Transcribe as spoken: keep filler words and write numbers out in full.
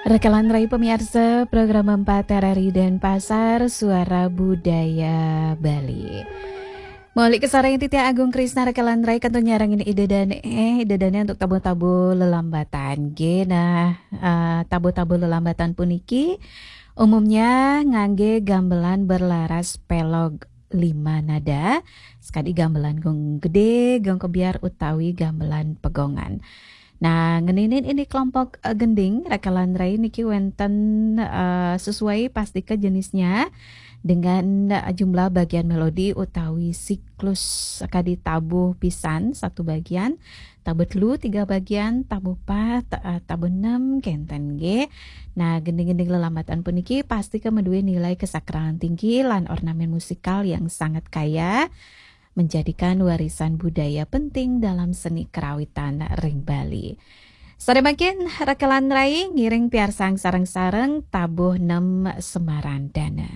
Rekelan Rai pemirsa, program empat R R I Denpasar, Suara Budaya Bali. Maulik kasarengin titiang Agung Krisna, Rekelan Rai, kantun nyarengin Ida Dane, eh, Ida Dane untuk tabuh-tabuh lelambatan. Nggih, nah, eh, tabuh-tabuh lelambatan puniki umumnya ngangge gamelan berlaras pelog lima nada, sakadi gamelan gong gede, gong kebyar utawi gamelan pegongan. Nah, ngeninin indik kelompok, eh, gending, Rekelan Rai, niki wenten, eh, sesuai pastika jenisnya dengan, eh, jumlah bagian melodi utawi siklus, sakadi tabuh pisan satu bagian, tabuh telu tiga bagian, tabuh pat, eh, tabuh enam kenten nggih. Nah, gending-gending lelambatan puniki pastika madué nilai kesakralan tinggi lan ornamen musikal yang sangat kaya, menjadikan warisan budaya penting dalam seni kerawitan ring Bali. Sare mangkin, Rekelan Rai ngiring piarsang sareng-sareng tabuh enam Semarandana.